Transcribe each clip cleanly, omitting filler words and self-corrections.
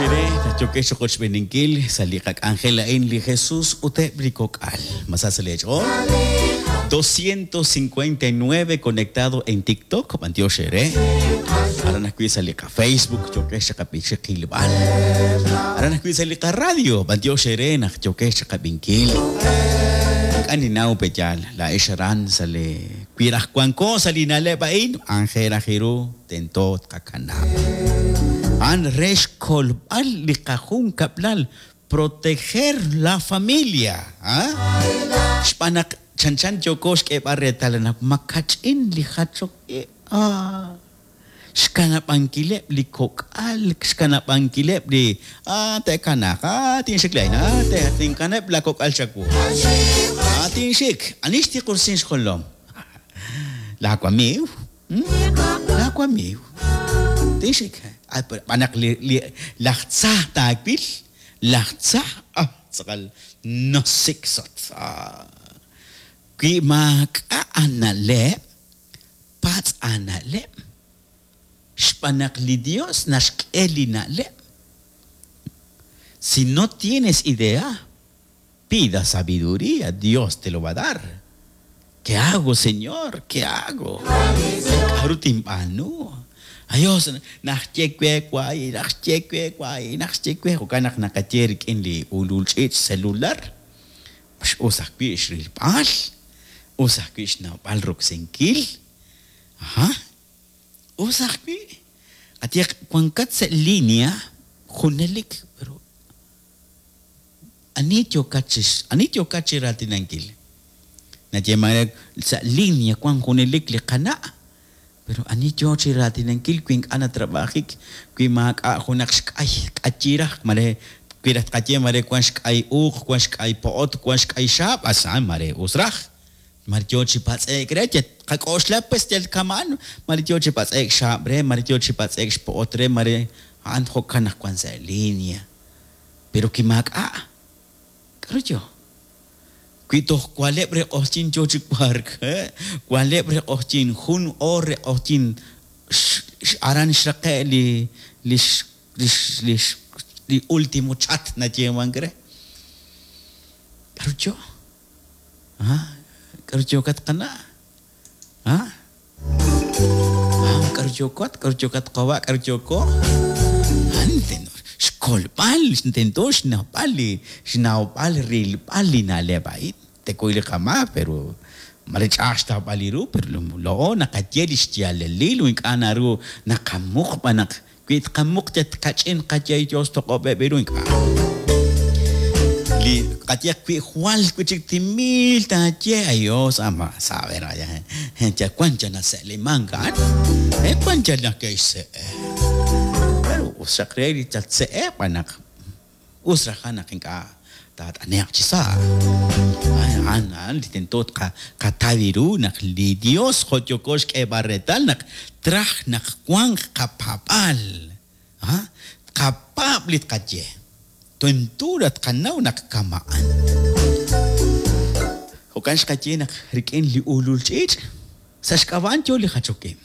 eere naq yookex chiqochb'eeninkil sa' li qak'anjel a'in li Jesus ut eb' li kok'al. Ma sa sa' lee ch'ool? 259 conectado en TikTok, b'antiox eere. Aran ajwi' sa' li qaFacebook yookex chiqilb'al. Aran ajwi' sa' li qaradio, b'antiox eere naq yookex chiqab'inkil. Ink'a' ninnaw pe yaal, laa'ex aran sa' li wi raj wanko sa' li na'leb' a'in, anjel raj eeru. Tento tqakanab'. A'an re xkolb'al li qajunkab'lal, proteger la familia, a. Xb'aan naq chanchan yooko xk'eeb'al reetal naq makach'in li jachok ib', a. Xkanab'ankileb' li kok'al, xkanab'ankileb' li, a, te'kanaaq, a, tinxik laa'in, a, tinkanab' la kok'al chawu, a, tinxik. Ani xtiqursin xjolom? Laa wamiiw. Laa wamiiw. Tinxik. Xb'aan naq li laj tza taawil, laj tza, ah, tz'aqal nasiksot. Wi maak'a' aana'leb', patz' aana'leb'. Xb'aan naq li Dios naxk'e li na'leb'. Si no tienes idea, Pida sabiduría, Dios te lo va a dar. ¿Qué hago, Señor? ¿Qué hago? K'aru tinb'aanu? Dios, naxye we wahi', naxye we wahi', naxye we. Jo'kan naq naqaye rik'in li ulul ch'iich' celular, us ajwi' xrilb'al, us ajwi' xnawb'al roksinkil. Aha, us ajwi'. Qayehaq wankat sa' línea junelik, pero Ani yookat chi ani yookat chi raatinankil? Nayeeman re, sa' linea wan junelik li qana', pero ani yoo chi raatinankil wi ink'a' natrab'ajik, wi maak'a' junaq xk'ay, k'ayi raj, mare wi raj tqaye mare wan xk'ay uuq, wan xk'ay po'ot, wan xk'ay xaab', a'an mare us raj. Mare yoo chi patz'e'k re, yal tqak'oxla pues yal kama'an, mare yoo chi patz'e'k xaab' re, mare yoo chi patz'e'k xpo'ot re, mare a'an jo'kan naq wan sa' linea. Pero wi maak'a', k'aru yo? Wi toj wa'leb' re q'oqyink yo chi wark, wa'leb' re q'oqyink, jun oor re q'oqyink, aran xraqe' li lix lix lix li ultimo chat nayeemank re. K'aru yo? K'aru yookat qana'? K'aru yookat? K'aru yookat qawa'? K'aru yooko? Xkolb'al, tento xnawb'al li xnawb'al rilb'al li na'leb' a'in. Tekuy li qamaak, pero mare ch'a'aj xtawb'al li ru, pero laa'o naqaye li xyaalalil u ink'a' naru naqamuq b'an naq Wi tqamuq yal kach'in qaye Yos toq'ob'eb' ru ink'a'. Li qayehaq wi jwal wi' chik timil taaye a Yos ama saber vaya yal wan yal nase'limank a'an e wan yal nake'xse'e. Pero us xaq re li tatse'e b'an naq Us raj a'an naq ink'a' taat'ane'q chi sa'. A'an a'an li tento tqataw ru naq li Yos jo' yooko xk'eeb'al reetal naq traj naq wanq qapaab'aal. Tqapaab' li tqaye. Tento raj tqanaw naq kama'an. Jo'kan xqaye naq rik'in li ulul ch'iich' sa' xk'ab'a' a'an yo li jachok ib'.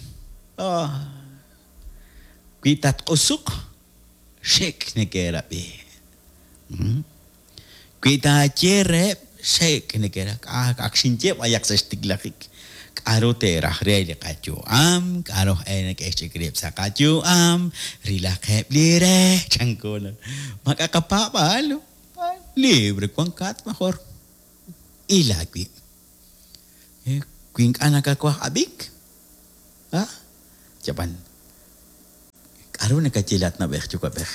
Wi tatq'usuq Xik' neke'rab'i. Wi taaye reheb' xik' neke'rab'i, ak xinye b'ayaq sa' xtiklajik, k'aru te'raj re li qayu'am, k'aru aj e neke'xch'ik rib' sa' qayu'am, rilaqeb' li re, chanko naq maak'a' qapaab'aal, libre wankat mejor il aawib'. Wi ink'a' nakawaj ab'ink, a, yab'an. K'aru nakaye laat na'b'ej yuwa'b'ej?